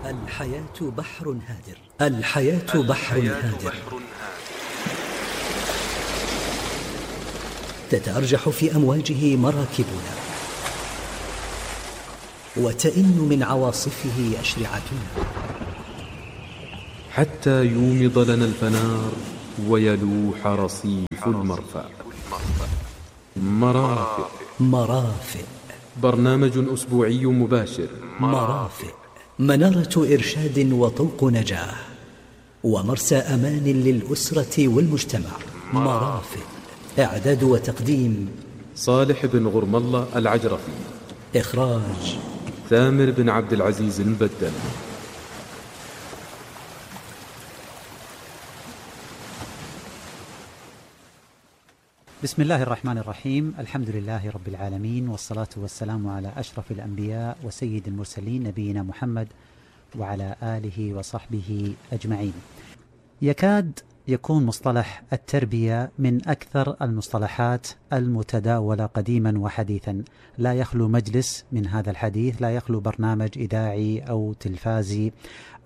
الحياة بحر هادر. الحياة بحر هادر تتأرجح في أمواجه مراكبنا، وتئن من عواصفه أشرعتنا، حتى يومض لنا الفنار ويلوح رصيف المرفأ. مرافئ برنامج أسبوعي مباشر. مرافئ منارة إرشاد وطوق نجاة ومرسى أمان للأسرة والمجتمع. مرافئ إعداد وتقديم صالح بن غرم الله العجرفي. إخراج ثامر بن عبد العزيز المبدل. بسم الله الرحمن الرحيم. الحمد لله رب العالمين، والصلاة والسلام على أشرف الأنبياء وسيد المرسلين نبينا محمد وعلى آله وصحبه أجمعين. يكاد يكون مصطلح التربية من أكثر المصطلحات المتداولة قديما وحديثا، لا يخلو مجلس من هذا الحديث، لا يخلو برنامج إذاعي أو تلفازي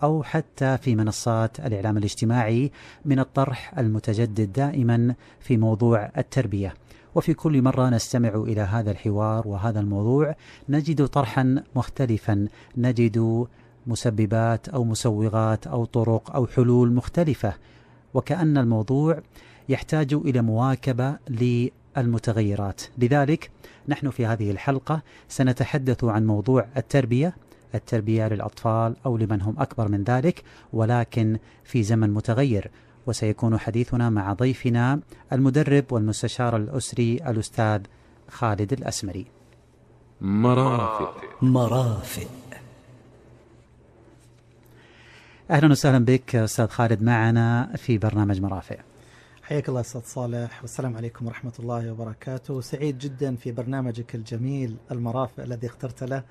أو حتى في منصات الإعلام الاجتماعي من الطرح المتجدد دائما في موضوع التربية. وفي كل مرة نستمع إلى هذا الحوار وهذا الموضوع نجد طرحا مختلفا، نجد مسببات أو مسوغات أو طرق أو حلول مختلفة، وكأن الموضوع يحتاج إلى مواكبة للمتغيرات. لذلك نحن في هذه الحلقة سنتحدث عن موضوع التربية للأطفال أو لمن هم أكبر من ذلك، ولكن في زمن متغير. وسيكون حديثنا مع ضيفنا المدرب والمستشار الأسري الأستاذ خالد الأسمري. مرافئ. أهلا وسهلا بك أستاذ خالد معنا في برنامج مرافئ. حياك الله أستاذ صالح، والسلام عليكم ورحمة الله وبركاته. سعيد جدا في برنامجك الجميل المرافئ الذي اخترت له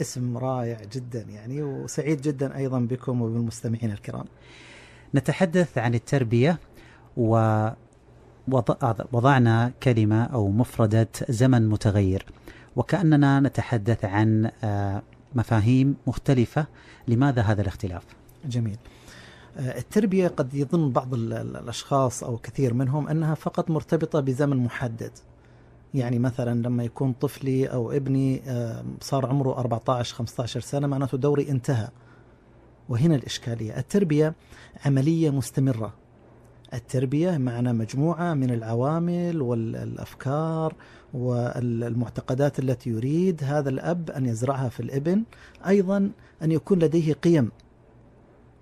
اسم رائع جدا يعني، وسعيد جدا أيضا بكم وبالمستمعين الكرام. نتحدث عن التربية، ووضعنا كلمة أو مفردة زمن متغير، وكأننا نتحدث عن مفاهيم مختلفة. لماذا هذا الاختلاف؟ جميل. التربية قد يظن بعض الأشخاص أو كثير منهم أنها فقط مرتبطة بزمن محدد، يعني مثلا لما يكون طفلي أو ابني صار عمره 14-15 سنة معناته دوري انتهى. وهنا الإشكالية. التربية عملية مستمرة. التربية معنا مجموعة من العوامل والأفكار والمعتقدات التي يريد هذا الأب أن يزرعها في الابن، أيضا أن يكون لديه قيم،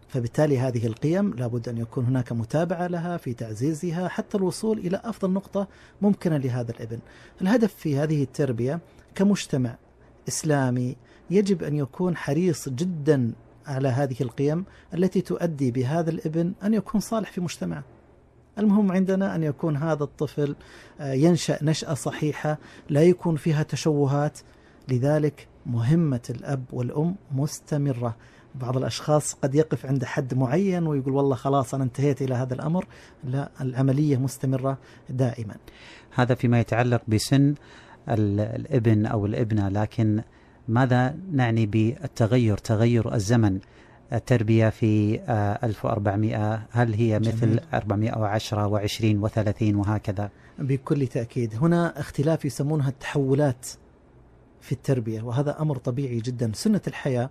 فبالتالي هذه القيم لابد أن يكون هناك متابعة لها في تعزيزها حتى الوصول إلى أفضل نقطة ممكنة لهذا الابن. الهدف في هذه التربية كمجتمع إسلامي يجب أن يكون حريص جدا على هذه القيم التي تؤدي بهذا الابن أن يكون صالح في مجتمعه. المهم عندنا أن يكون هذا الطفل ينشأ نشأة صحيحة لا يكون فيها تشوهات. لذلك مهمة الأب والأم مستمرة. بعض الأشخاص قد يقف عند حد معين ويقول والله خلاص أنا انتهيت إلى هذا الأمر. لا، العملية مستمرة دائما. هذا فيما يتعلق بسن الابن أو الابنة، لكن ماذا نعني بالتغير، تغير الزمن؟ التربية في 1400 هل هي مثل 410 و20 و30 وهكذا؟ بكل تأكيد. هنا اختلاف يسمونها التحولات في التربية، وهذا أمر طبيعي جدا. سنة الحياة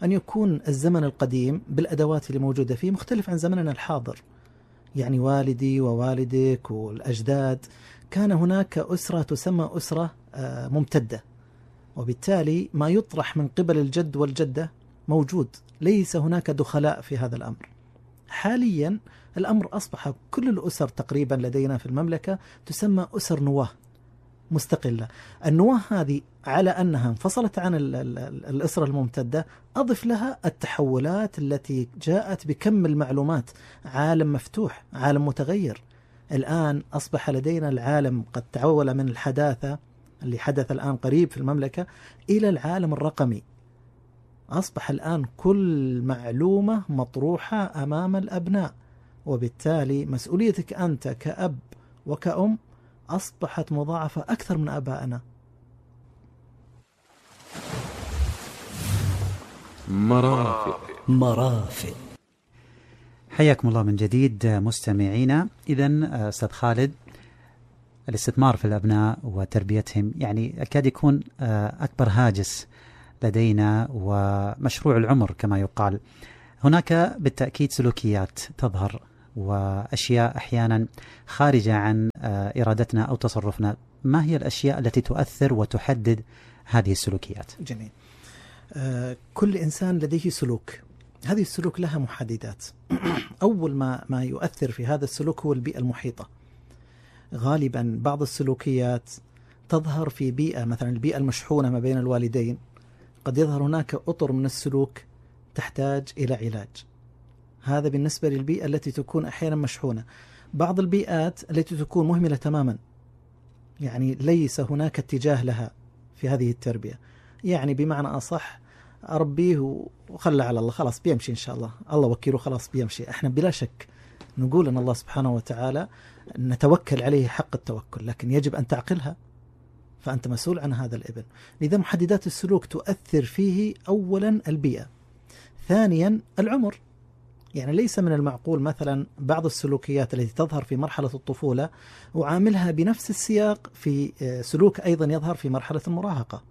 أن يكون الزمن القديم بالأدوات اللي موجودة فيه مختلف عن زمننا الحاضر. يعني والدي ووالدك والأجداد كان هناك أسرة تسمى أسرة ممتدة، وبالتالي ما يطرح من قبل الجد والجدة موجود، ليس هناك دخلاء في هذا الأمر. حاليا الأمر أصبح كل الأسر تقريبا لدينا في المملكة تسمى أسر نواة مستقلة. النواة هذه على أنها انفصلت عن الأسرة الممتدة، أضف لها التحولات التي جاءت بكم المعلومات. عالم مفتوح، عالم متغير. الآن أصبح لدينا العالم قد تحول من الحداثة اللي حدث الآن قريب في المملكة إلى العالم الرقمي. أصبح الآن كل معلومة مطروحة أمام الأبناء، وبالتالي مسؤوليتك أنت كأب وكأم أصبحت مضاعفة أكثر من آبائنا. مرافئ. مرافق. حياكم الله من جديد مستمعينا. إذن أستاذ خالد، الاستثمار في الأبناء وتربيتهم يعني أكاد يكون أكبر هاجس لدينا ومشروع العمر كما يقال. هناك بالتأكيد سلوكيات تظهر وأشياء أحيانا خارجة عن إرادتنا أو تصرفنا. ما هي الأشياء التي تؤثر وتحدد هذه السلوكيات؟ جميل. كل إنسان لديه سلوك، هذه السلوك لها محددات. أول ما يؤثر في هذا السلوك هو البيئة المحيطة. غالبا بعض السلوكيات تظهر في بيئة، مثلا البيئة المشحونة ما بين الوالدين، قد يظهر هناك أطر من السلوك تحتاج إلى علاج. هذا بالنسبة للبيئة التي تكون أحيانا مشحونة. بعض البيئات التي تكون مهملة تماما، يعني ليس هناك اتجاه لها في هذه التربية، يعني بمعنى أصح أربيه وخلى على الله، خلاص بيمشي إن شاء الله، الله وكيله خلاص بيمشي. احنا بلا شك نقول أن الله سبحانه وتعالى نتوكل عليه حق التوكل، لكن يجب أن تعقلها، فأنت مسؤول عن هذا الابن. لذا محددات السلوك تؤثر فيه أولا البيئة، ثانيا العمر. يعني ليس من المعقول مثلا بعض السلوكيات التي تظهر في مرحلة الطفولة وعاملها بنفس السياق في سلوك أيضا يظهر في مرحلة المراهقة.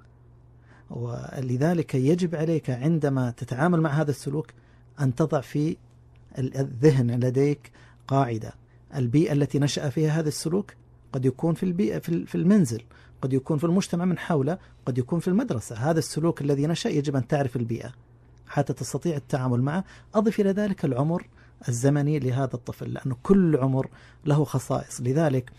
ولذلك يجب عليك عندما تتعامل مع هذا السلوك أن تضع في الذهن لديك قاعدة: البيئة التي نشأ فيها هذا السلوك قد يكون في البيئة في المنزل، قد يكون في المجتمع من حوله، قد يكون في المدرسة. هذا السلوك الذي نشأ يجب أن تعرف البيئة حتى تستطيع التعامل معه. أضف إلى ذلك العمر الزمني لهذا الطفل، لأنه كل عمر له خصائص. لذلك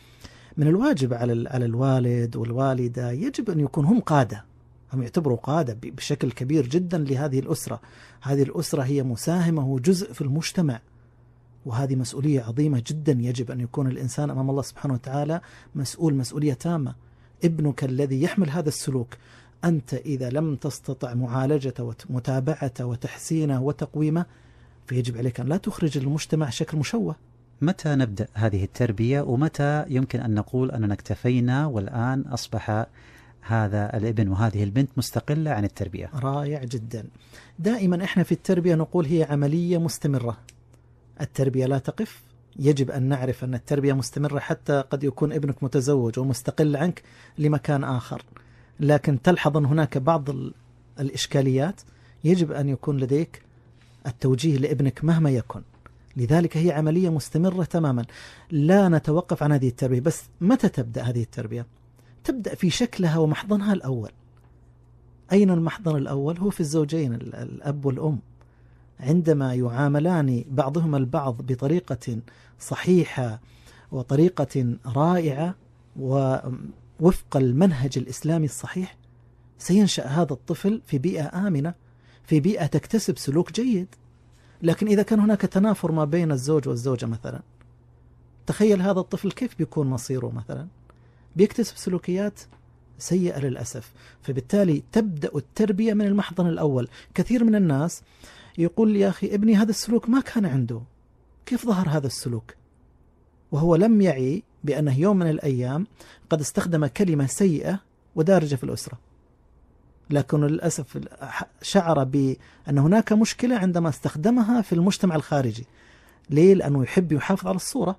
من الواجب على الوالد والوالدة يجب أن يكون هم قادة، هم يعتبروا قادة بشكل كبير جدا لهذه الأسرة. هذه الأسرة هي مساهمة وجزء في المجتمع، وهذه مسؤولية عظيمة جدا. يجب أن يكون الإنسان أمام الله سبحانه وتعالى مسؤولية تامة. ابنك الذي يحمل هذا السلوك، أنت إذا لم تستطع معالجته ومتابعته وتحسينه وتقويمه، فيجب عليك أن لا تخرج المجتمع شكل مشوه. متى نبدأ هذه التربية، ومتى يمكن أن نقول أننا اكتفينا والآن أصبح هذا الابن وهذه البنت مستقلة عن التربية؟ رائع جدا. دائما إحنا في التربية نقول هي عملية مستمرة، التربية لا تقف. يجب أن نعرف أن التربية مستمرة، حتى قد يكون ابنك متزوج ومستقل عنك لمكان آخر، لكن تلحظ أن هناك بعض الإشكاليات يجب أن يكون لديك التوجيه لابنك مهما يكن. لذلك هي عملية مستمرة تماما، لا نتوقف عن هذه التربية. بس متى تبدأ هذه التربية؟ تبدأ في شكلها ومحضنها الأول. أين المحضن الأول؟ هو في الزوجين، الأب والأم، عندما يعاملان بعضهما البعض بطريقة صحيحة وطريقة رائعة ووفق المنهج الإسلامي الصحيح، سينشأ هذا الطفل في بيئة آمنة، في بيئة تكتسب سلوك جيد. لكن إذا كان هناك تنافر ما بين الزوج والزوجة مثلا، تخيل هذا الطفل كيف بيكون مصيره مثلا، بيكتسب سلوكيات سيئة للأسف. فبالتالي تبدأ التربية من المحضن الأول. كثير من الناس يقول يا أخي ابني هذا السلوك ما كان عنده، كيف ظهر هذا السلوك؟ وهو لم يعي بأنه يوم من الأيام قد استخدم كلمة سيئة ودارجة في الأسرة، لكن للأسف شعر بأن هناك مشكلة عندما استخدمها في المجتمع الخارجي. ليه؟ لأنه يحب يحافظ على الصورة،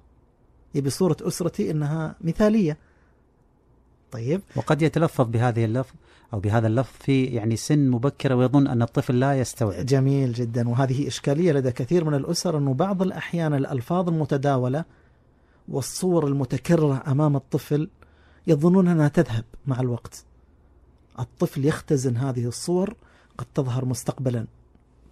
يبي صورة أسرتي إنها مثالية. طيب، وقد يتلفظ بهذه اللفظ أو بهذا اللفظ في يعني سن مبكرة ويظن أن الطفل لا يستوعب. جميل جدا. وهذه إشكالية لدى كثير من الأسر، أنه بعض الأحيان الألفاظ المتداولة والصور المتكررة أمام الطفل يظنون أنها تذهب مع الوقت. الطفل يختزن هذه الصور، قد تظهر مستقبلا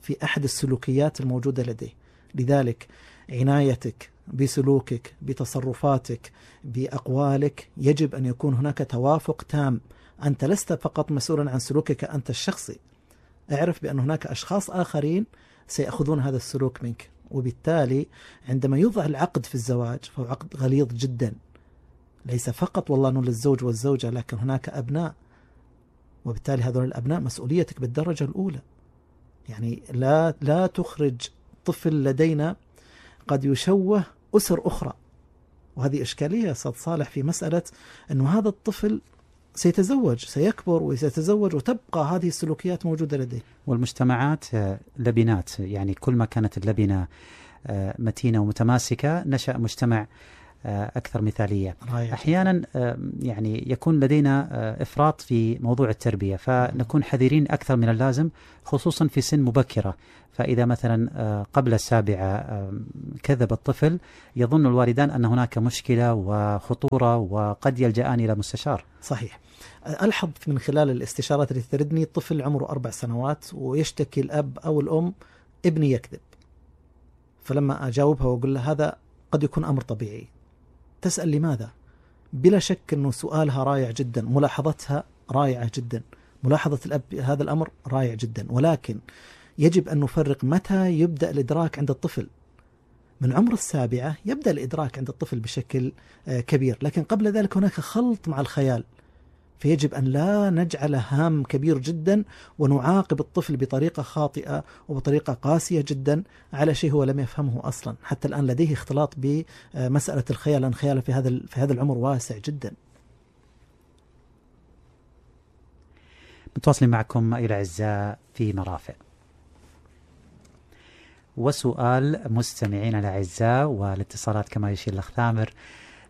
في أحد السلوكيات الموجودة لديه. لذلك عنايتك بسلوكك، بتصرفاتك، بأقوالك، يجب أن يكون هناك توافق تام. أنت لست فقط مسؤولا عن سلوكك أنت الشخصي، اعرف بأن هناك أشخاص آخرين سيأخذون هذا السلوك منك. وبالتالي عندما يوضع العقد في الزواج فهو عقد غليظ جدا، ليس فقط والله أنه للزوج والزوجة، لكن هناك أبناء، وبالتالي هذول الأبناء مسؤوليتك بالدرجة الأولى. يعني لا تخرج طفل لدينا قد يشوه أسر أخرى. وهذه إشكالية أستاذ صالح في مسألة أنه هذا الطفل سيتزوج، سيكبر وسيتزوج، وتبقى هذه السلوكيات موجودة لديه. والمجتمعات لبنات، يعني كل ما كانت اللبنة متينة ومتماسكة نشأ مجتمع أكثر مثالية. أحيانا يعني يكون لدينا إفراط في موضوع التربية، فنكون حذرين أكثر من اللازم خصوصا في سن مبكرة. فإذا مثلا قبل 7 كذب الطفل، يظن الوالدان أن هناك مشكلة وخطورة وقد يلجأان إلى مستشار. صحيح. ألحظ من خلال الاستشارات التي تردني الطفل عمره 4 سنوات ويشتكي الأب أو الأم ابني يكذب، فلما أجاوبها وأقول له هذا قد يكون أمر طبيعي، تسأل لماذا؟ بلا شك أنه سؤالها رائع جدا، ملاحظتها رائعة جدا، ملاحظة الأب هذا الأمر رائع جدا، ولكن يجب أن نفرق متى يبدأ الإدراك عند الطفل. من عمر 7 يبدأ الإدراك عند الطفل بشكل كبير، لكن قبل ذلك هناك خلط مع الخيال، فيجب أن لا نجعل هام كبير جدا ونعاقب الطفل بطريقة خاطئة وبطريقة قاسية جدا على شيء هو لم يفهمه أصلا. حتى الآن لديه اختلاط بمسألة الخيال، لأن خياله في هذا العمر واسع جدا. متواصلين معكم أيها الأعزاء في مرافق، وسؤال مستمعين الأعزاء والاتصالات كما يشير الأخ ثامر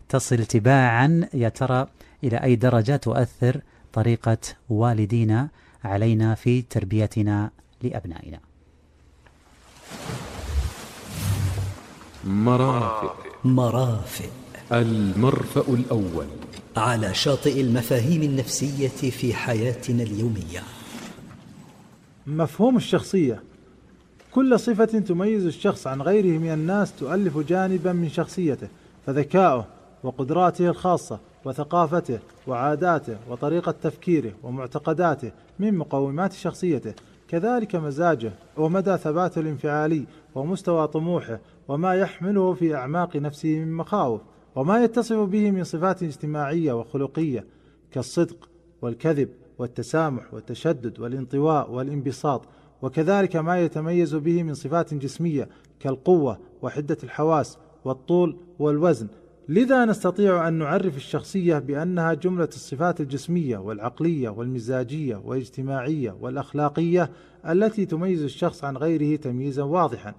تصل تباعا. يا ترى إلى أي درجة تؤثر طريقة والدينا علينا في تربيتنا لأبنائنا؟ مرافق المرفأ الأول على شاطئ المفاهيم النفسية في حياتنا اليومية. مفهوم الشخصية: كل صفة تميز الشخص عن غيره من الناس تؤلف جانبا من شخصيته، فذكاؤه وقدراته الخاصة وثقافته وعاداته وطريقة تفكيره ومعتقداته من مقومات شخصيته، كذلك مزاجه ومدى ثباته الانفعالي ومستوى طموحه وما يحمله في أعماق نفسه من مخاوف، وما يتصف به من صفات اجتماعية وخلقية كالصدق والكذب والتسامح والتشدد والانطواء والانبساط، وكذلك ما يتميز به من صفات جسمية كالقوة وحدة الحواس والطول والوزن. لذا نستطيع أن نعرف الشخصية بأنها جملة الصفات الجسمية والعقلية والمزاجية والاجتماعية والأخلاقية التي تميز الشخص عن غيره تمييزا واضحا،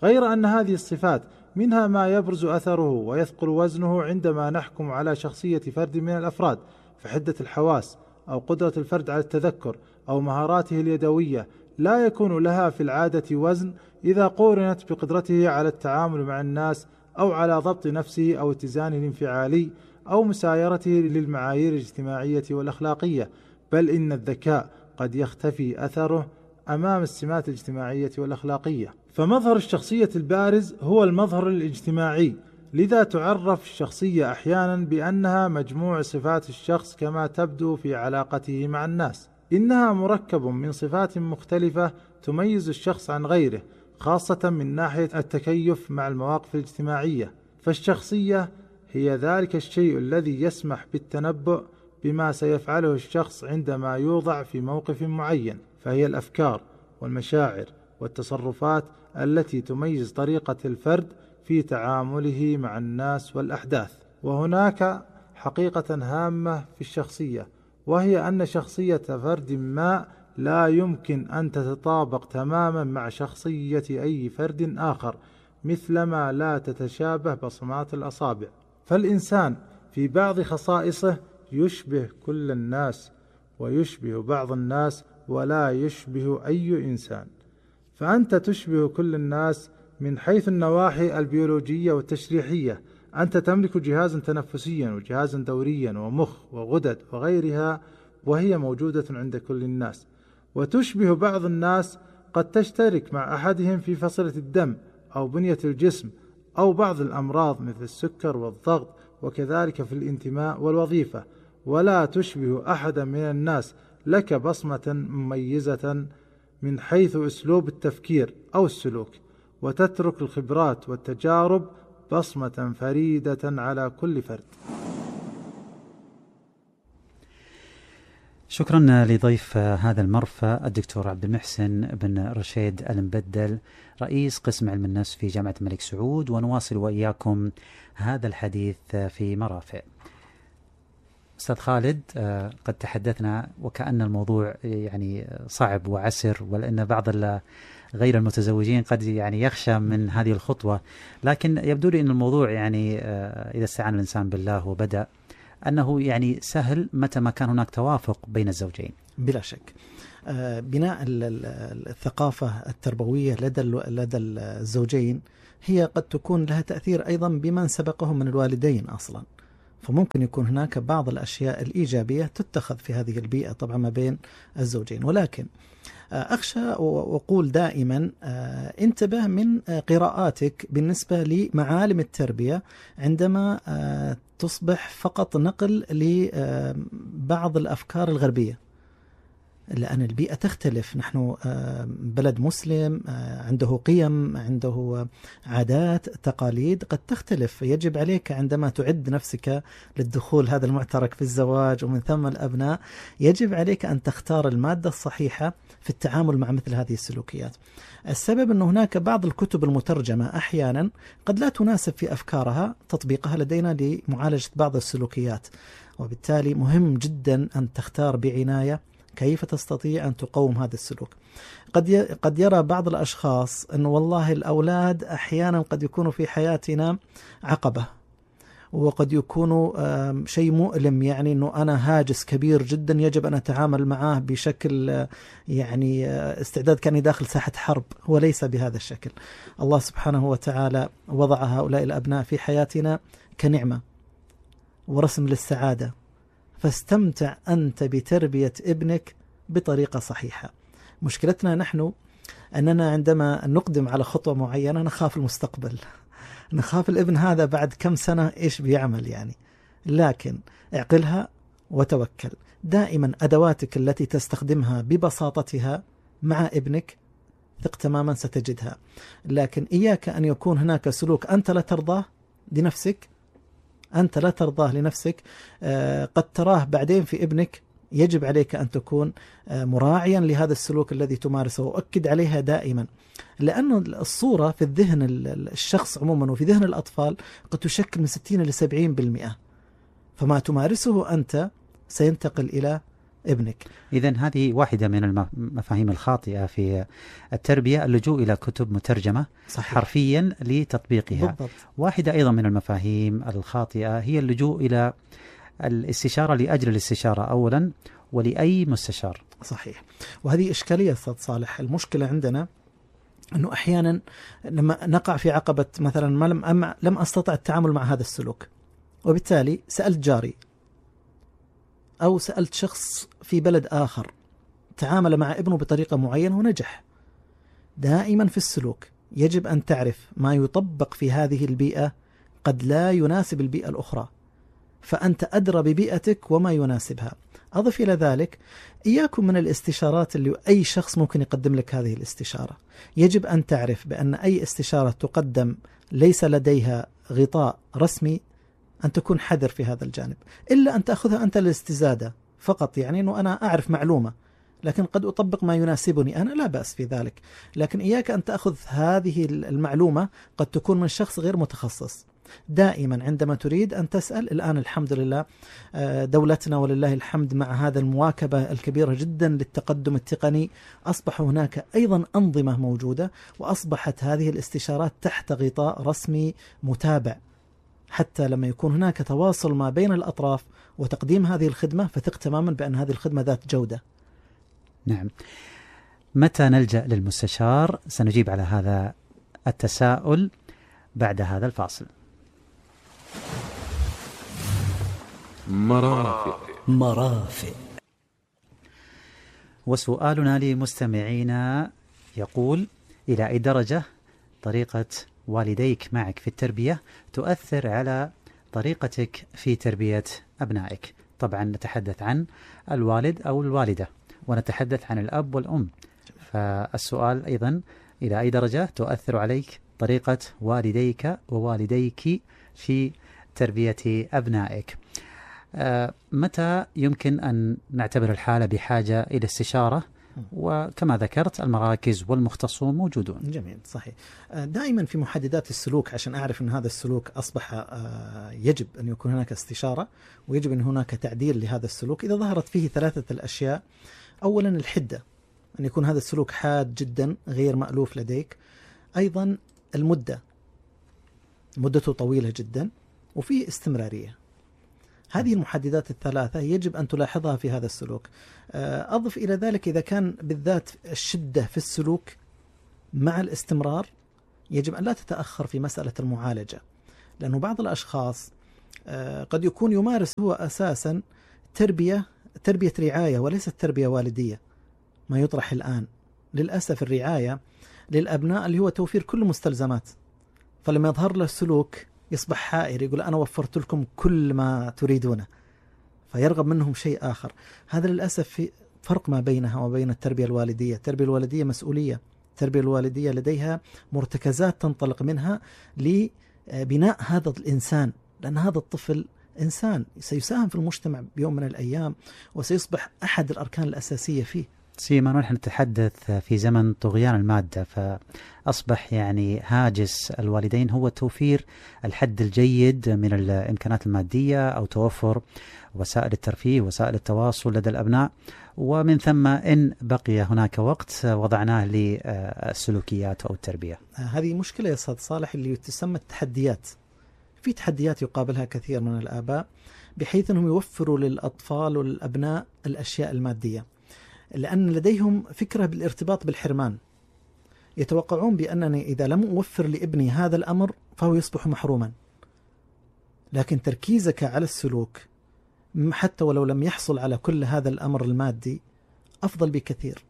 غير أن هذه الصفات منها ما يبرز أثره ويثقل وزنه عندما نحكم على شخصية فرد من الأفراد، فحدة الحواس أو قدرة الفرد على التذكر أو مهاراته اليدوية لا يكون لها في العادة وزن إذا قورنت بقدرته على التعامل مع الناس أو على ضبط نفسه أو اتزانه الانفعالي أو مسايرته للمعايير الاجتماعية والأخلاقية، بل إن الذكاء قد يختفي أثره أمام السمات الاجتماعية والأخلاقية. فمظهر الشخصية البارز هو المظهر الاجتماعي، لذا تعرف الشخصية أحيانا بأنها مجموع صفات الشخص كما تبدو في علاقته مع الناس. إنها مركب من صفات مختلفة تميز الشخص عن غيره، خاصة من ناحية التكيف مع المواقف الاجتماعية. فالشخصية هي ذلك الشيء الذي يسمح بالتنبؤ بما سيفعله الشخص عندما يوضع في موقف معين، فهي الأفكار والمشاعر والتصرفات التي تميز طريقة الفرد في تعامله مع الناس والأحداث. وهناك حقيقة هامة في الشخصية، وهي أن شخصية فرد ما لا يمكن أن تتطابق تماما مع شخصية أي فرد آخر، مثلما لا تتشابه بصمات الأصابع. فالإنسان في بعض خصائصه يشبه كل الناس ويشبه بعض الناس ولا يشبه أي إنسان. فأنت تشبه كل الناس من حيث النواحي البيولوجية والتشريحية، أنت تملك جهازا تنفسيا وجهازا دوريا ومخ وغدد وغيرها، وهي موجودة عند كل الناس. وتشبه بعض الناس قد تشترك مع أحدهم في فصيلة الدم أو بنية الجسم أو بعض الأمراض مثل السكر والضغط، وكذلك في الانتماء والوظيفة، ولا تشبه أحدا من الناس لك بصمة مميزة من حيث أسلوب التفكير أو السلوك، وتترك الخبرات والتجارب بصمة فريدة على كل فرد. شكرا لضيف هذا المرفأ الدكتور عبد المحسن بن رشيد المبدل، رئيس قسم علم النفس في جامعة الملك سعود، ونواصل وإياكم هذا الحديث في مرافق. أستاذ خالد، قد تحدثنا وكأن الموضوع يعني صعب وعسر، ولأن بعض غير المتزوجين قد يعني يخشى من هذه الخطوة، لكن يبدو لي أن الموضوع يعني إذا استعان الإنسان بالله وبدأ أنه يعني سهل متى ما كان هناك توافق بين الزوجين. بلا شك. بناء الثقافة التربوية لدى الزوجين هي قد تكون لها تأثير أيضا بمن سبقهم من الوالدين أصلا، فممكن يكون هناك بعض الأشياء الإيجابية تتخذ في هذه البيئة طبعا ما بين الزوجين. ولكن أخشى وأقول دائما انتبه من قراءاتك بالنسبة لمعالم التربية عندما تصبح فقط نقل لبعض الأفكار الغربية، لأن البيئة تختلف. نحن بلد مسلم عنده قيم، عنده عادات، تقاليد قد تختلف. يجب عليك عندما تعد نفسك للدخول هذا المعترك في الزواج ومن ثم الأبناء، يجب عليك أن تختار المادة الصحيحة في التعامل مع مثل هذه السلوكيات. السبب أن هناك بعض الكتب المترجمة أحيانا قد لا تناسب في أفكارها تطبيقها لدينا لمعالجة بعض السلوكيات، وبالتالي مهم جدا أن تختار بعناية كيف تستطيع أن تقوم هذا السلوك. قد يرى بعض الأشخاص أن والله الأولاد أحيانا قد يكونوا في حياتنا عقبة، وقد يكونوا شيء مؤلم، يعني أنه أنا هاجس كبير جدا يجب أن أتعامل معه بشكل يعني استعداد كأني داخل ساحة حرب. هو ليس بهذا الشكل. الله سبحانه وتعالى وضع هؤلاء الأبناء في حياتنا كنعمة ورسم للسعادة، فاستمتع أنت بتربية ابنك بطريقة صحيحة. مشكلتنا نحن أننا عندما نقدم على خطوة معينة نخاف المستقبل، نخاف الابن هذا بعد كم سنة إيش بيعمل يعني. لكن اعقلها وتوكل. دائما أدواتك التي تستخدمها ببساطتها مع ابنك ثق تماما ستجدها، لكن إياك أن يكون هناك سلوك أنت لا ترضاه لنفسك، أنت لا ترضاه لنفسك قد تراه بعدين في ابنك. يجب عليك أن تكون مراعيا لهذا السلوك الذي تمارسه، وأكد عليها دائما، لأن الصورة في الذهن الشخص عموما وفي ذهن الأطفال قد تشكل من 60 إلى 70%، فما تمارسه أنت سينتقل إلى ابنك. إذن هذه واحدة من المفاهيم الخاطئة في التربية، اللجوء إلى كتب مترجمة صحيح. حرفيا لتطبيقها. بالضبط. واحدة أيضا من المفاهيم الخاطئة هي اللجوء إلى الاستشارة لأجل الاستشارة أولا ولأي مستشار. صحيح. وهذه إشكالية أستاذ صالح. المشكلة عندنا أنه أحيانا لما نقع في عقبة مثلا لم أستطع التعامل مع هذا السلوك، وبالتالي سألت جاري أو سألت شخص في بلد آخر تعامل مع ابنه بطريقة معينة ونجح. دائما في السلوك يجب أن تعرف ما يطبق في هذه البيئة قد لا يناسب البيئة الأخرى، فأنت أدرى ببيئتك وما يناسبها. أضف إلى ذلك إياكم من الاستشارات اللي أي شخص ممكن يقدم لك هذه الاستشارة. يجب أن تعرف بأن أي استشارة تقدم ليس لديها غطاء رسمي، أن تكون حذر في هذا الجانب، إلا أن تأخذها أنت للاستزادة فقط، يعني أنه أنا أعرف معلومة لكن قد أطبق ما يناسبني أنا، لا بأس في ذلك. لكن إياك أن تأخذ هذه المعلومة قد تكون من شخص غير متخصص. دائما عندما تريد أن تسأل، الآن الحمد لله دولتنا ولله الحمد مع هذا المواكبة الكبيرة جدا للتقدم التقني أصبح هناك أيضا أنظمة موجودة، وأصبحت هذه الاستشارات تحت غطاء رسمي متابع، حتى لما يكون هناك تواصل ما بين الأطراف وتقديم هذه الخدمة فثق تماما بأن هذه الخدمة ذات جودة. نعم. متى نلجأ للمستشار؟ سنجيب على هذا التساؤل بعد هذا الفاصل. مرافق. وسؤالنا لمستمعينا يقول: إلى أي درجة طريقة والديك معك في التربية تؤثر على طريقتك في تربية أبنائك؟ طبعا نتحدث عن الوالد أو الوالدة، ونتحدث عن الأب والأم. فالسؤال أيضا: إلى أي درجة تؤثر عليك طريقة والديك ووالديك في تربية أبنائك؟ متى يمكن أن نعتبر الحالة بحاجة إلى استشارة وكما ذكرت المراكز والمختصون موجودون. جميل، صحيح. دائما في محددات السلوك عشان أعرف أن هذا السلوك أصبح يجب أن يكون هناك استشارة ويجب أن هناك تعديل لهذا السلوك إذا ظهرت فيه ثلاثة الأشياء. أولا الحدة، أن يكون هذا السلوك حاد جدا غير مألوف لديك. أيضا المدة، مدته طويلة جدا، وفيه استمرارية. هذه المحددات الثلاثة يجب أن تلاحظها في هذا السلوك. أضف إلى ذلك إذا كان بالذات الشدة في السلوك مع الاستمرار يجب أن لا تتأخر في مسألة المعالجة، لأنه بعض الأشخاص قد يكون يمارس هو أساسا تربية رعاية وليست تربية والدية. ما يطرح الآن للأسف الرعاية للأبناء اللي هو توفير كل مستلزمات، فلما يظهر له السلوك يصبح حائر، يقول أنا وفرت لكم كل ما تريدونه، فيرغب منهم شيء آخر. هذا للأسف في فرق ما بينها وبين التربية الوالدية. التربية الوالدية مسؤولية، التربية الوالدية لديها مرتكزات تنطلق منها لبناء هذا الإنسان، لأن هذا الطفل إنسان سيساهم في المجتمع بيوم من الأيام وسيصبح أحد الأركان الأساسية فيه. سيما نحن نتحدث في زمن طغيان المادة، فأصبح يعني هاجس الوالدين هو توفير الحد الجيد من الإمكانات المادية أو توفر وسائل الترفيه وسائل التواصل لدى الأبناء، ومن ثم إن بقي هناك وقت وضعناه للسلوكيات أو التربية. هذه مشكلة يا أستاذ صالح اللي تسمى التحديات. في تحديات يقابلها كثير من الآباء بحيث أنهم يوفروا للأطفال والأبناء الأشياء المادية، لأن لديهم فكرة بالارتباط بالحرمان. يتوقعون بأنني إذا لم أوفر لابني هذا الأمر فهو يصبح محروما. لكن تركيزك على السلوك حتى ولو لم يحصل على كل هذا الأمر المادي أفضل بكثير.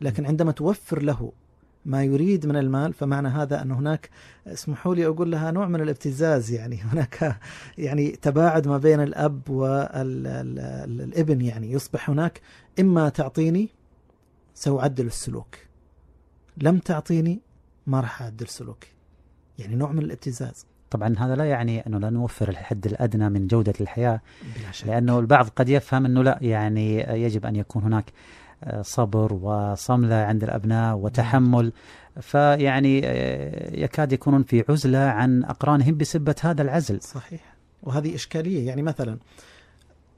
لكن عندما توفر له ما يريد من المال فمعنى هذا أن هناك، اسمحوا لي أقول لها، نوع من الابتزاز. يعني هناك يعني تباعد ما بين الأب والابن. يعني يصبح هناك إما تعطيني سأعدل السلوك، لم تعطيني ما راح أعدل سلوكي. يعني نوع من الابتزاز. طبعا هذا لا يعني أنه لا نوفر الحد الأدنى من جودة الحياة، لأنه البعض قد يفهم أنه لا، يعني يجب أن يكون هناك صبر وصملة عند الأبناء وتحمل، فيعني يكاد يكونون في عزلة عن أقرانهم بسبة هذا العزل. صحيح، وهذه إشكالية. يعني مثلا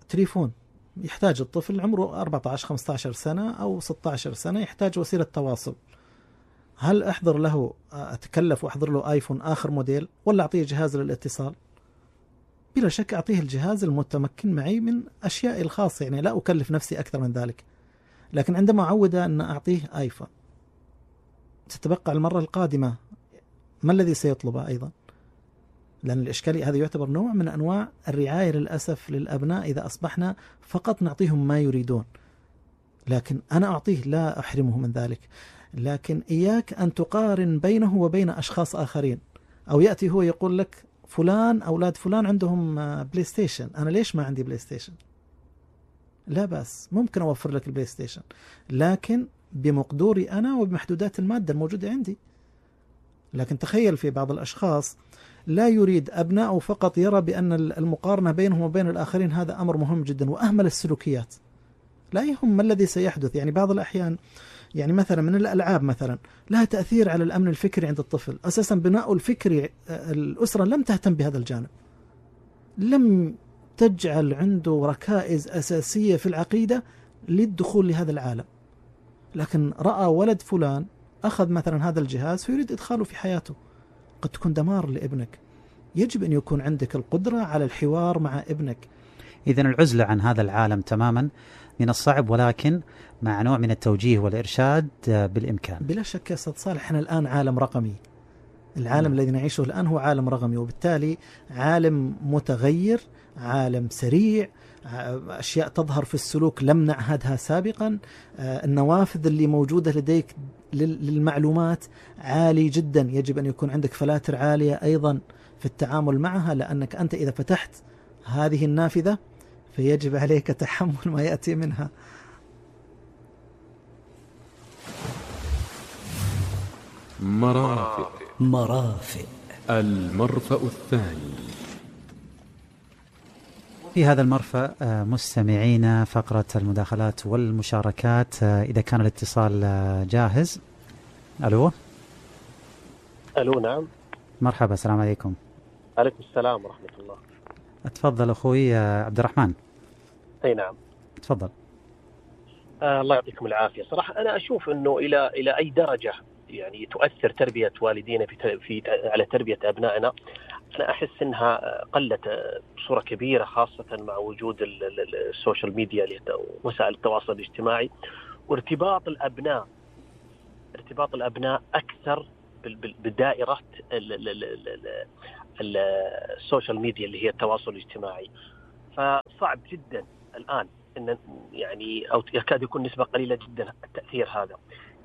تليفون، يحتاج الطفل عمره 14-15 سنة أو 16 سنة يحتاج وسيلة تواصل. هل أحضر له، أتكلف وأحضر له آيفون آخر موديل ولا أعطيه جهاز للاتصال؟ بلا شك أعطيه الجهاز المتمكن معي من أشياء الخاصة، يعني لا أكلف نفسي أكثر من ذلك. لكن عندما أعود أن أعطيه آيفون ستبقى المرة القادمة ما الذي سيطلبه أيضا؟ لأن الإشكالية هذا يعتبر نوع من أنواع الرعاية للأسف للأبناء إذا أصبحنا فقط نعطيهم ما يريدون. لكن أنا أعطيه، لا أحرمه من ذلك، لكن إياك أن تقارن بينه وبين أشخاص آخرين. أو يأتي هو يقول لك فلان، أولاد فلان عندهم بلاي ستيشن، أنا ليش ما عندي بلاي ستيشن؟ لا بأس، ممكن أوفر لك البلاي ستيشن لكن بمقدوري أنا وبمحدودات المادة الموجودة عندي. لكن تخيل في بعض الأشخاص لا يريد أبنائه، فقط يرى بأن المقارنة بينهم وبين الآخرين هذا أمر مهم جدا، وأهمل السلوكيات. لا يهم ما الذي سيحدث. يعني بعض الأحيان، يعني مثلا من الألعاب مثلا لها تأثير على الأمن الفكري عند الطفل. أساسا بناء الفكري الأسرة لم تهتم بهذا الجانب، لم تجعل عنده ركائز أساسية في العقيدة للدخول لهذا العالم. لكن رأى ولد فلان أخذ مثلا هذا الجهاز فيريد إدخاله في حياته، قد تكون دمار لابنك. يجب أن يكون عندك القدرة على الحوار مع ابنك. إذن العزلة عن هذا العالم تماما من الصعب، ولكن مع نوع من التوجيه والإرشاد بالإمكان. بلا شك يا أستاذ صالح، احنا الآن عالم رقمي. العالم الذي نعيشه الآن هو عالم رقمي، وبالتالي عالم متغير، عالم سريع، أشياء تظهر في السلوك لم نعهدها سابقا. النوافذ اللي موجودة لديك للمعلومات عالي جدا، يجب أن يكون عندك فلاتر عالية أيضا في التعامل معها، لأنك أنت إذا فتحت هذه النافذة فيجب عليك تحمل ما يأتي منها. مرافق. المرفأ الثاني. في هذا المرفأ مستمعينا فقرة المداخلات والمشاركات. إذا كان الاتصال جاهز. ألو. نعم. مرحبا، السلام عليكم. عليكم السلام ورحمة الله. أتفضل أخوي عبد الرحمن. أي نعم. تفضل. الله يعطيكم العافية. صراحة أنا أشوف أنه إلى أي درجة يعني تؤثر تربية والدينا على تربية أبنائنا. أنا أحس أنها قلت بصورة كبيرة، خاصة مع وجود السوشيال ميديا وسائل التواصل الاجتماعي، وارتباط الأبناء أكثر بدائرة السوشيال ميديا اللي هي التواصل الاجتماعي. فصعب جدا الآن إن يعني أو يكاد يكون نسبة قليلة جدا التأثير هذا.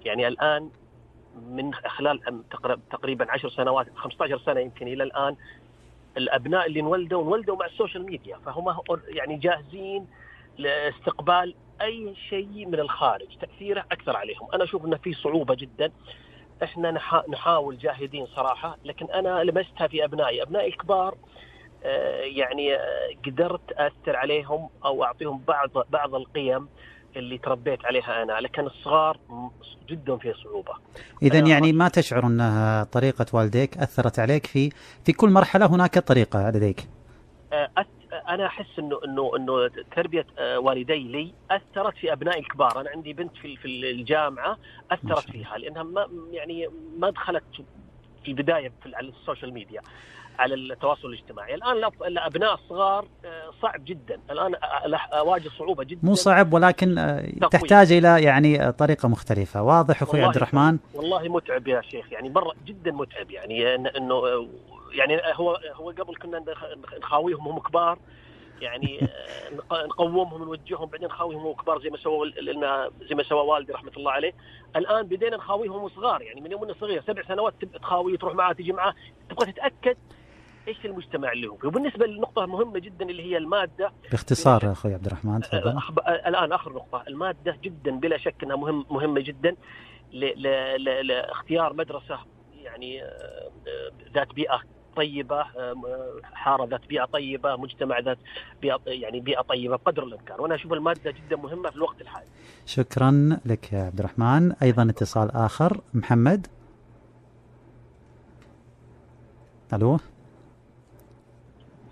يعني الآن من خلال تقريبا 10 سنوات 15 سنة يمكن إلى الآن، الأبناء اللي انولدوا مع السوشيال ميديا، فهم يعني جاهزين لاستقبال أي شيء من الخارج، تأثيره أكثر عليهم. أنا أشوف أن في صعوبة جدا. إحنا نحاول جاهدين صراحة، لكن أنا لمستها في أبنائي الكبار. يعني قدرت أثر عليهم أو أعطيهم بعض القيم اللي تربيت عليها أنا، لكن الصغار جدا في صعوبة. إذن يعني ما تشعر أنها طريقة والديك أثرت عليك في كل مرحلة هناك طريقة لديك؟ أنا أحس إنه تربية والدي لي أثرت في أبنائي الكبار. أنا عندي بنت في الجامعة أثرت فيها، لأنها ما دخلت في البداية على السوشيال ميديا، على التواصل الاجتماعي. الآن الأبناء الصغار صعب جدا، الآن أواجه صعوبة جدا. مو صعب، ولكن تحتاج إلى يعني طريقة مختلفة. واضح أخوي عبد الرحمن؟ والله متعب يا شيخ، يعني مرة جدا متعب. يعني إنه يعني هو قبل كنا نخاويهم هم كبار، يعني نقومهم نوجههم، بعدين نخاويهم هم كبار زي ما سوى والدي رحمة الله عليه. الآن بدينا نخاويهم صغار، يعني من يوم صغير 7 سنوات تخاويه، تروح معاه تيجي معاه، تبغى تتأكد ايش المجتمع اللي هو. وبالنسبه للنقطه مهمه جدا اللي هي الماده، باختصار اخوي عبد الرحمن تفضل. الان اخر نقطه، الماده جدا بلا شك انها مهمه جدا لاختيار مدرسه يعني ذات بيئه طيبه، حاره ذات بيئه طيبه، مجتمع ذات بيئه طيبه بقدر الامكان. وانا اشوف الماده جدا مهمه في الوقت الحالي. شكرا لك يا عبد الرحمن. ايضا اتصال اخر، محمد. الو.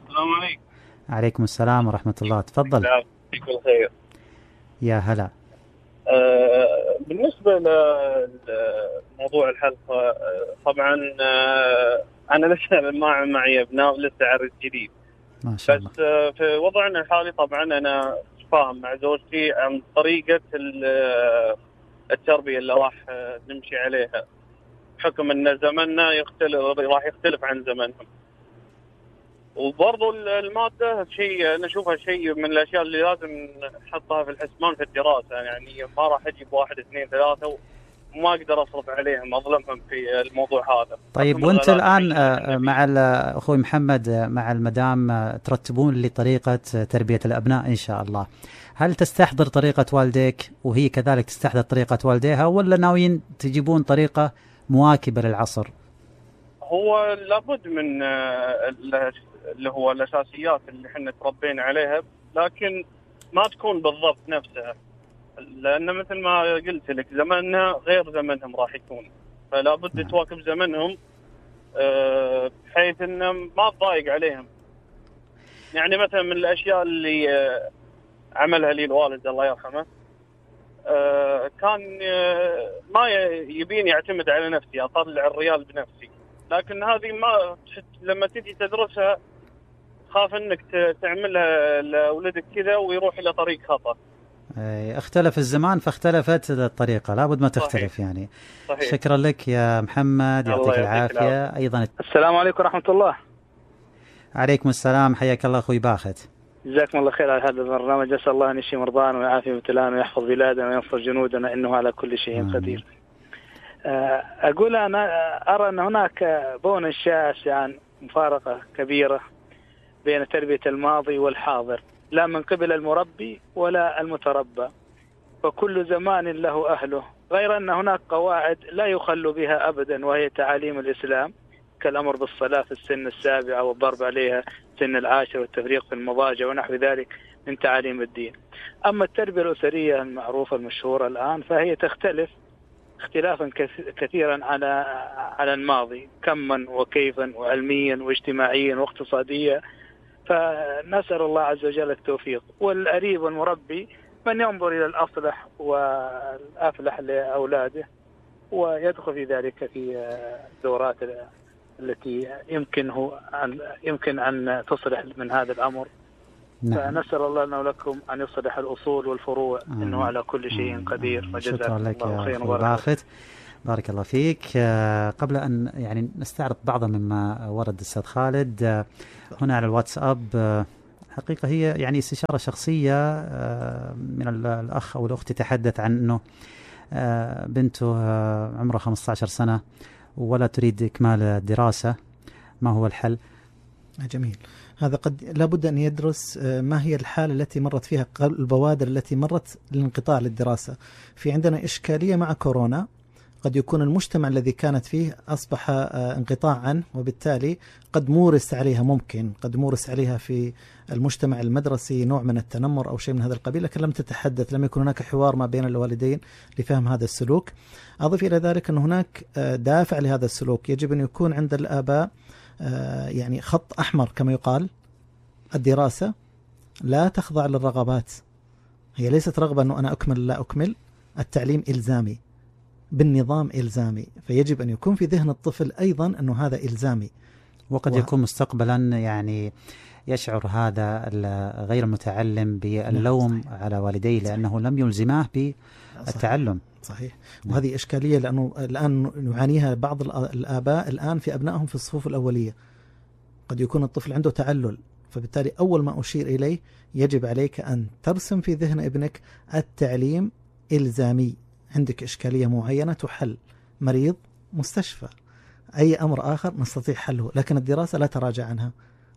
السلام عليكم. عليكم السلام ورحمة الله، تفضل. يعطيك الخير. يا هلا. بالنسبة لموضوع الحلقة، طبعا أنا لسه معي أبناء، لسه عرس جديد ما شاء الله. بس في وضعنا الحالي طبعا أنا فاهم مع زوجتي عن طريقة التربية اللي راح نمشي عليها، بحكم أن زمننا راح يختلف عن زمنهم. وبرضو المادة شيء أنا أشوفها شيء من الأشياء اللي لازم نحطها في الحسبان في الدراسة. يعني ما راح أجيب 1 2 3 وما أقدر أصرف عليهم، أظلمهم في الموضوع هذا. طيب وأنت الآن مع أخوي محمد مع المدام ترتبون لطريقة تربية الأبناء إن شاء الله، هل تستحضر طريقة والديك وهي كذلك تستحضر طريقة والديها، ولا ناويين تجيبون طريقة مواكبة للعصر؟ هو لابد من اللي هو الأساسيات اللي احنا تربينا عليها، لكن ما تكون بالضبط نفسها، لأن مثل ما قلت لك زمننا غير زمنهم راح يكون، فلا بد تواكب زمنهم بحيث إنه ما تضايق عليهم. يعني مثلا من الأشياء اللي عملها لي الوالد الله يرحمه، كان ما يبيني أعتمد على نفسي، أطلع الريال بنفسي، لكن هذه ما لما تيجي تدرسها خاف انك تعملها لأولادك كذا ويروح الى طريق خطأ. اختلف الزمان فاختلفت الطريقة، لابد ما تختلف. صحيح. يعني صحيح. شكرا لك يا محمد، يعطيك العافية. ايضا السلام عليكم ورحمة الله. عليكم السلام، حياك الله اخوي باخت. جزاكم الله خير على هذا البرنامج، اسال الله ان يشفي مرضانا ويعافي مبتلانا ويحفظ بلادنا وينصر جنودنا انه على كل شيء قدير. أقول أنا أرى أن هناك بون شاسع عن مفارقة كبيرة بين تربية الماضي والحاضر، لا من قبل المربي ولا المتربى، وكل زمان له أهله، غير أن هناك قواعد لا يخل بها أبدا، وهي تعاليم الإسلام كالأمر بالصلاة في السن 7 والضرب عليها سن العاشر والتفريق في المضاجع ونحو ذلك من تعاليم الدين. أما التربية الأسرية المعروفة المشهورة الآن فهي تختلف اختلافا كثيرا على الماضي، كما وكيفا وعلميا واجتماعيا واقتصاديا. فنسأل الله عز وجل التوفيق. والأريب والمربي من ينظر إلى الأصلح والأفلح لأولاده ويدخل في ذلك في الدورات التي يمكن أن تصلح من هذا الأمر. فنسأل الله لنا ولكم أن يصلح الأصول والفروع إنه على كل شيء قدير. شكرا لك يا باخت، بارك الله فيك. قبل أن يعني نستعرض بعضا مما ورد الأستاذ خالد هنا على الواتساب، حقيقة هي يعني استشارة شخصية من الأخ أو الأخت تحدث عن أنه بنته عمرها 15 سنة ولا تريد إكمال الدراسة، ما هو الحل؟ جميل. هذا قد لابد أن يدرس ما هي الحالة التي مرت فيها البوادر التي مرت للانقطاع للدراسة. في عندنا إشكالية مع كورونا، قد يكون المجتمع الذي كانت فيه أصبح انقطاعا، وبالتالي قد مورس عليها في المجتمع المدرسي نوع من التنمر أو شيء من هذا القبيل، لكن لم يكن هناك حوار ما بين الوالدين لفهم هذا السلوك. أضف إلى ذلك أن هناك دافع لهذا السلوك، يجب أن يكون عند الآباء يعني خط أحمر كما يقال. الدراسة لا تخضع للرغبات، هي ليست رغبة أنه أنا أكمل لا أكمل. التعليم إلزامي بالنظام، إلزامي، فيجب أن يكون في ذهن الطفل أيضا أنه هذا إلزامي. وقد يكون مستقبلا يعني يشعر هذا غير المتعلم باللوم على والديه لأنه لم يلزماه بالتعلم. صحيح. وهذه إشكالية لأنه الآن يعانيها بعض الآباء الآن في أبنائهم في الصفوف الأولية. قد يكون الطفل عنده تعلل، فبالتالي أول ما أشير إليه يجب عليك أن ترسم في ذهن ابنك التعليم إلزامي. عندك إشكالية معينة تحل، مريض، مستشفى، أي أمر آخر نستطيع حله، لكن الدراسة لا تراجع عنها.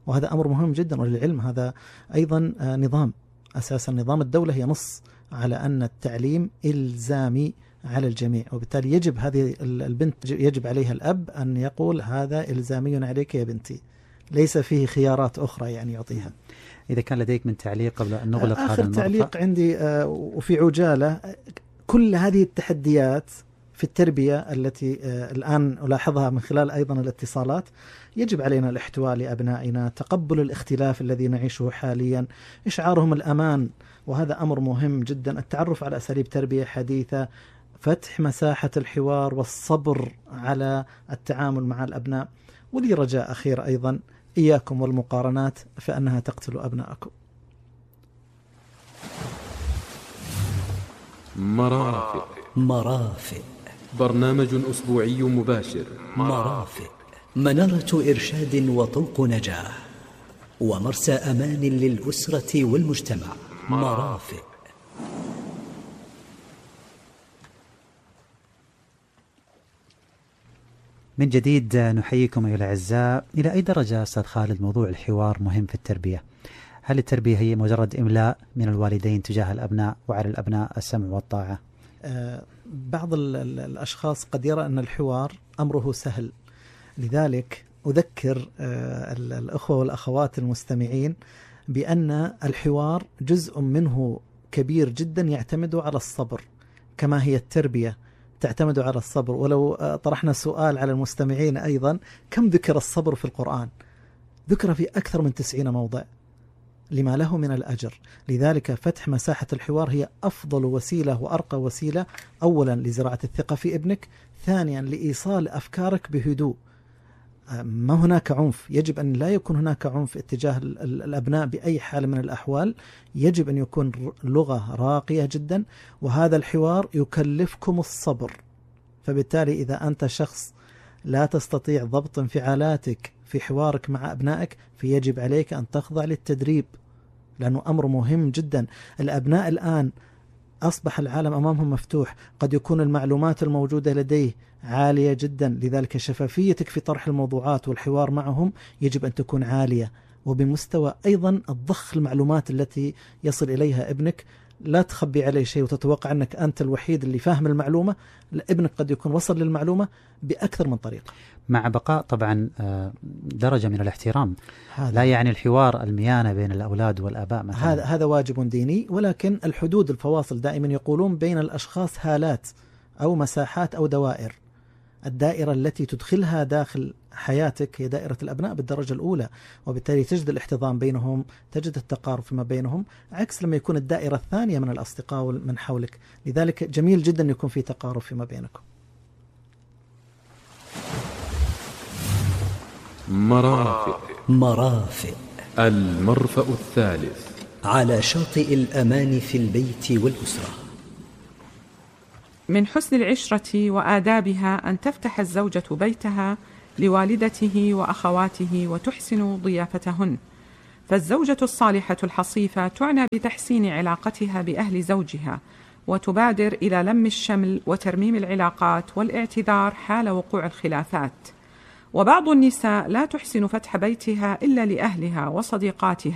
وهذا أمر مهم جدا، وللعلم هذا أيضا نظام، أساسا نظام الدولة هي نص على أن التعليم إلزامي على الجميع، وبالتالي يجب هذه البنت يجب عليها الأب أن يقول هذا إلزامي عليك يا بنتي، ليس فيه خيارات أخرى يعني يعطيها. إذا كان لديك من تعليق قبل أن نغلق هذا آخر تعليق عندي وفي عجالة، كل هذه التحديات في التربية التي الآن ألاحظها من خلال أيضا الاتصالات، يجب علينا الاحتواء لأبنائنا، تقبل الاختلاف الذي نعيشه حاليا، إشعارهم الأمان، وهذا أمر مهم جدا، التعرف على أساليب تربية حديثة، فتح مساحة الحوار والصبر على التعامل مع الأبناء. ولي رجاء أخير أيضا، إياكم والمقارنات فإنها تقتل أبنائكم. مرافق برنامج أسبوعي مباشر. مرافق منارة إرشاد وطوق نجاة ومرسى أمان للأسرة والمجتمع. مرافق. من جديد نحييكم أيها الأعزاء. إلى أي درجة أستاذ خالد موضوع الحوار مهم في التربية؟ هل التربية هي مجرد إملاء من الوالدين تجاه الأبناء وعلى الأبناء السمع والطاعة؟ بعض الأشخاص قد يرى أن الحوار أمره سهل، لذلك أذكر الأخوة والأخوات المستمعين بأن الحوار جزء منه كبير جدا يعتمد على الصبر، كما هي التربية تعتمد على الصبر. ولو طرحنا سؤال على المستمعين أيضا، كم ذكر الصبر في القرآن؟ ذكر في أكثر من 90 موضع لما له من الأجر. لذلك فتح مساحة الحوار هي أفضل وسيلة وأرقى وسيلة، أولا لزراعة الثقة في ابنك، ثانيا لإيصال أفكارك بهدوء. ما هناك عنف، يجب أن لا يكون هناك عنف اتجاه الأبناء بأي حال من الأحوال، يجب أن يكون لغة راقية جدا، وهذا الحوار يكلفكم الصبر. فبالتالي إذا أنت شخص لا تستطيع ضبط انفعالاتك في حوارك مع أبنائك، فيجب عليك أن تخضع للتدريب، لأنه أمر مهم جدا. الأبناء الآن أصبح العالم أمامهم مفتوح، قد يكون المعلومات الموجودة لديه عالية جدا، لذلك شفافيتك في طرح الموضوعات والحوار معهم يجب أن تكون عالية، وبمستوى أيضا الضخ المعلومات التي يصل إليها ابنك لا تخبي عليه شيء وتتوقع أنك أنت الوحيد اللي فاهم المعلومة. ابنك قد يكون وصل للمعلومة بأكثر من طريقة، مع بقاء طبعا درجة من الاحترام. لا يعني الحوار الميانة بين الأولاد والآباء مثلا. هذا واجب ديني، ولكن الحدود الفواصل دائما يقولون بين الأشخاص هالات أو مساحات أو دوائر. الدائرة التي تدخلها داخل حياتك هي دائرة الأبناء بالدرجة الأولى، وبالتالي تجد الاحتضان بينهم، تجد التقارب فيما بينهم، عكس لما يكون الدائرة الثانية من الأصدقاء من حولك. لذلك جميل جدا يكون في تقارب فيما بينكم. مرافق. المرفأ الثالث على شاطئ الأمان في البيت والأسرة. من حسن العشرة وآدابها أن تفتح الزوجة بيتها لوالدته وأخواته وتحسن ضيافتهن، فالزوجة الصالحة الحصيفة تعنى بتحسين علاقتها بأهل زوجها، وتبادر إلى لم الشمل وترميم العلاقات والاعتذار حال وقوع الخلافات. وبعض النساء لا تحسن فتح بيتها إلا لأهلها وصديقاتها